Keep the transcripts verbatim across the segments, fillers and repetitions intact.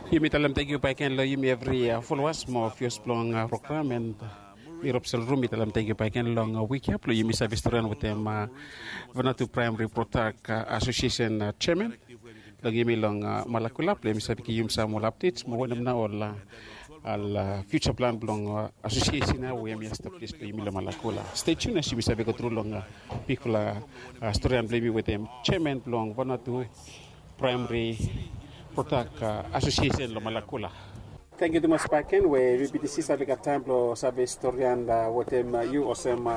Yumi talem tenkyu baik gen long yumi evri folowas mo vios blong program en, mi Robson Rum, mi talem tenkyu baik gen long wik ya blong yumi save storian wetem Vanuatu Praemari Prodak Asosiesen jeaman long yumi long Malakula blong yumi save givim sam ol apdets mo wanem nao ol fiuja plan blong asosiesen ya we yumi establis blong yumi long Malakula. Stay tuned as yumi save go tru long bigfala storian blong yumi wetem jeaman blong Vanuatu Praemari Prodak Asosiesen long Malakula. Tenkyu tumas baik gen we VBTC save gat taem blong save storian wetem yu olsem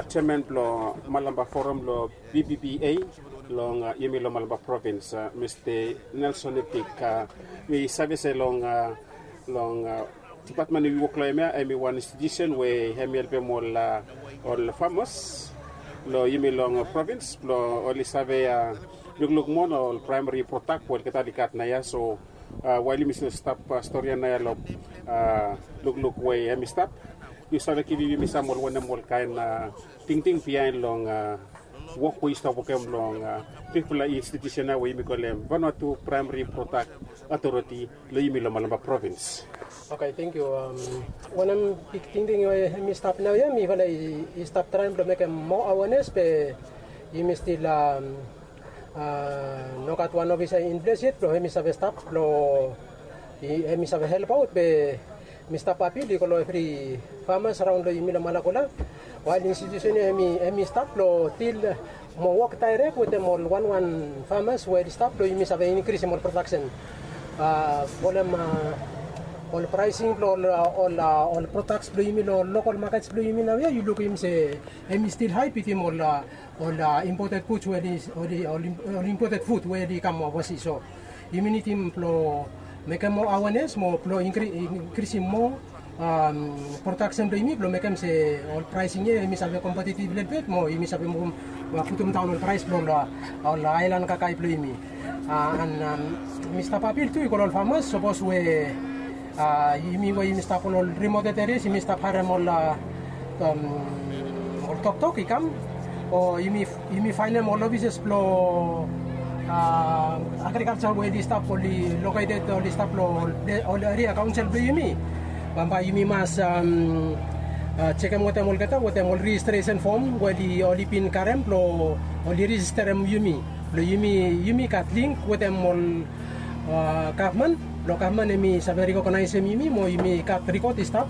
jeaman blong Malampa Forum long VPPA long yumi long Malampa Provins, Mista Nelson Epik. Mi save se long long dipatmen we yu wok long hem ya hem i wan institiusen we hem i helpem ol ol famas long yumi long provins blong oli save lukluk moa long ol praemari prodak we olgeta oli gat naoia. So wael yumi stil stap storian naoia long lukluk we hem i stap, yu save givim yumi sam ol wanem ol kaen tingting biaen long wok we yu stap wokem long bigfala institiusen ya we yumi kolem Vanuatu Praemari Prodak Otoriti long yumi long Malampa Provins. Oke, tenkyu. Wanem big tingting we hem i stap naoia, mifala i stap traem blong mekem moa awenes be yumi stil nogat wan ofisa in ples yet blong hem i save stap blong hem i save helpaot be mi stap apil i go long evri famas raon long yumi long Malakula. Wael institiusen ya hem i stap long dil mo wok daerek wetem ol wanwan famas we oli stap blong yumi save inkrisim ol prodaksen. Folem ol praesing blong ol prodaks blong yumi long lokal makets blong yumi naoia yu lukim se hem i stil hae bitim ol ol imported fud we oli ol imported fud we oli kam ovasi. So yumi nidim blong mekem moa awenes mo blong inkrisim moa prodaksen blong yumi blong mekem se ol praesing ya hem i save kompetitiv lelebet mo yumi save muvum putum daon ol praes blong ol aelan kakae blong yumi. An mi stap apil tu i go long ol famas sapos we yumi we yumi stap long ol rimoted erias yumi stap harem ol ol toktok i kam o yumi faenem ol ofises blong agrikalsa we oli stap oli loketed oli stap long ol eria kaonsel blong yumi. Bambae yumi mas jekem wetem olgeta wetem ol rejistresen fom we oli bin karem blong oli rejisterem yumi blong yumi gat link wetem ol gavman blong gavman hem i save rekognaesem yumi mo yumi gat rikot i stap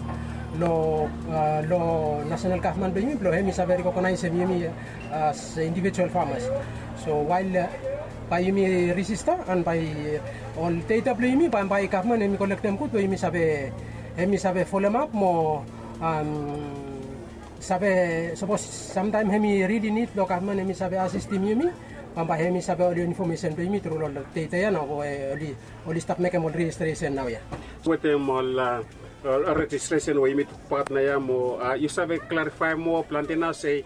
long long nasenal gavman blong yumi blong hem i save rekognaesem yumi as indivijual famas. So wael bae yumi rejista an bae ol data blong yumi bambae gavman hem i kolektem gud blong yumi save hem i save folemap mo save sapos samtaem hem i rili nid long gavman hem i save asistim yumi bambae hem i save ol infomesen blong yumi tru long data ya nao we oli oli stap mekem ol rejistresen naoia. Wetem ol rejistresen we yumi tokbaot naoia mo yu save klarifaem moa plante nao se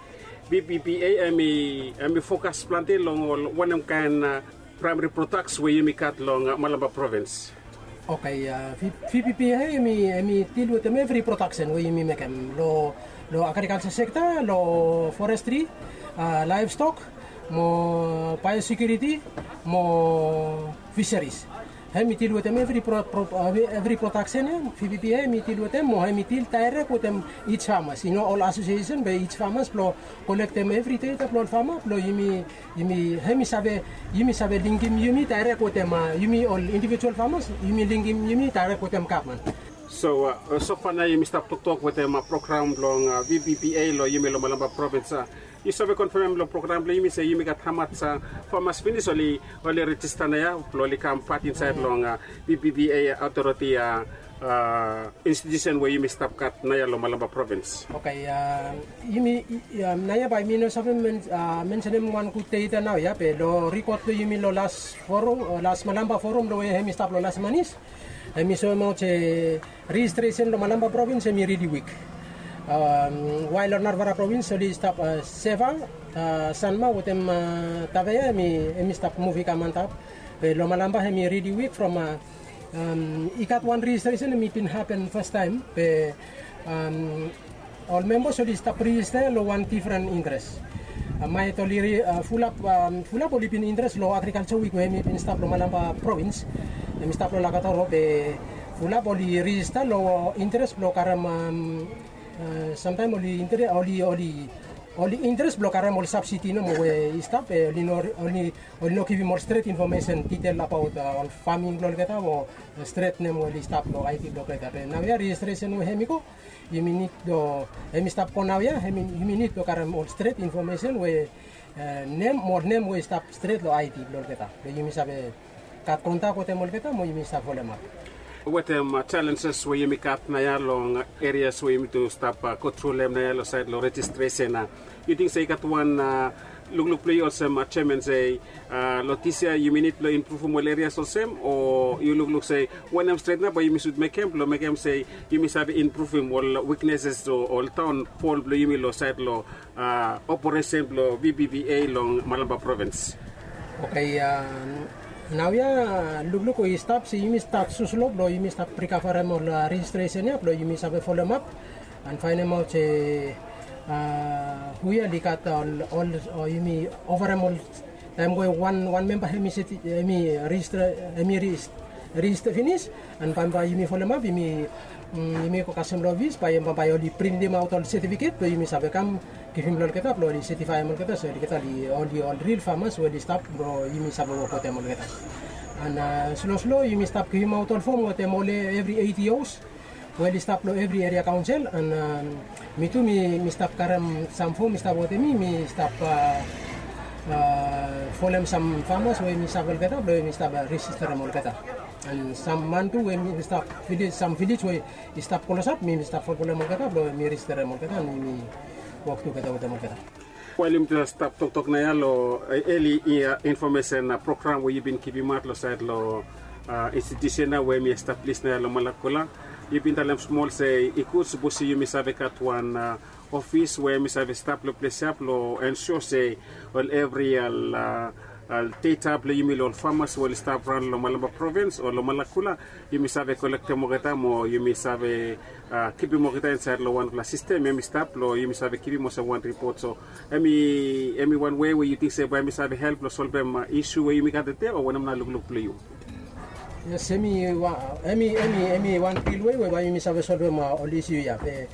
VPPA hem i fokas plante long ol wanem kaen praemari prodaks we yumi gat long Malampa Provins. Oke, VPPA hem i dil wetem evri prodaksen we yumi mekem long agrikalsa sekta, long forestri, laevstok mo baeosekiuriti mo fiseris. Hem i dil wetem evri prodaksen ya, VPPA hem i dil wetem mo hem i dil daerek wetem ij famas i no ol asosiesen be ij famas blong kolektem evri data blong ol fama blong yumi yumi hem i save yumi save linkim yumi daerek wetem yumi ol indivijual famas yumi linkim yumi daerek wetem gavman. So sofa nao yumi stap toktok wetem program blong VPPA long yumi long Malampa Provins. Yu save konfemem long program blong yumi se yumi gat hamas famas finis oli oli rejista naoia blong oli kam pat insaed long VPPA otoriti institusen we yumi stap gat naoia long Malampa Provins. Oke, yumi naoia bae mi no save mensenem wan gud data naoia be long rikot blong yumi long las forum o las Malampa Forum long we hem i stap long las manis, hem i soemaot se rejistresen long Malampa Provins hem i rili wik. Wael long narafala provins oli stap seva, sanma wetem tavea hem i stap muv i kam antap. Be long Malampa hem i rili wik from i gat wan rejistresen hem i bin hapen fastaem be ol membas oli stap rejista long wan difren interes. Maet oli fulap fulap oli bin interes long agrikalsa wik we hem i bin stap long Malampa provins. Hem i stap long Lakatoro be fulap oli rijista long interes blong karem samtaem oli interes oli oli oli interes blong karem ol sabsidi nomo we i stap be oli no oli oli no givim ol stret infomesen ditel abaot ol faming blong olgeta o stret nem we oli stap long aiti blong olgeta be naoia rejistresen we hem i go yumi nid long hem i stap go naoia hem i yumi nid long karem ol stret infomesen we nem mo nem we i stap stret long aiti blong olgeta be yumi save gat kontak wetem olgeta mo yumi save folemap. Wetem jalenjes we yumi gat naoia long erias we yumi tu stap go tru long hem naoia long saed long rejistresen a yu ting se i gat wan lukluk blong yu olsem jeman se long disia yumi nid blong impruvim ol erias olsem o yu lukluk se wanem stret nao bae yumi sud mekem blong mekem se yumi save impruvim ol wikneses o ol daonfol blong yumi long saed long operesen blong vpva long Malampa provins? Oke. Naoia lukluk we i stap se yumi stat suslo blong yumi stap prikavarem ol rejistresen ya blong yumi save folemap an faenemaot se hu ya oli gat ol ol o yumi ovarem ol taem we wan wan memba hem i seti hem i rejista hem i rejista finis an bambae yumi folemap yumi yumi go kasem long ofis bae bambae oli printimaot ol setifiket blong yumi save kam givim long olgeta blong oli setifaem olgeta se olgeta oli oli ol ril famas we oli stap blong yumi save wok wetem olgeta. An sloslo yumi stap givimaot ol fom wetem ol evri eighty os we oli stap long evri eria kaonsel an mi tu mi mi stap karem sam fom mi stap wetem mi mi stap folem sam famas we mi save olgeta blong mi stap rejisterem olgeta. An sam man tu we mi stap vilej sam vilej we i stap klosap mi mi stap folfolem olgeta blong mi rejisterem olgeta an mi wok tugeta wetem olgeta. Wael yumi tu stap toktok naoia long eli infomesen program we yu bin givimaot long saed long institusen ya we hem i establis naoia long Malakula, yu bin talem smol se i gud sapos yumi save gat wan ofis we hem i save stap long ples ya blong ensua se ol evri ol deta blong yumi long ol famas we oli stap raon long Malampa provins o long Malakula yumi save kolektem olgeta mo yumi save kipim olgeta insaed long wanpela sistem hem i stap blong yumi save givim olsem wan ripot. So hem i hem i wan wei we yu ting se bae hem i save help long solvem isu we yumi gat tede o wanem nao lukluk blong yu? Yes, hem i hem i hem i hem i wan pilwei we bae yumi save solvem ol isu ya be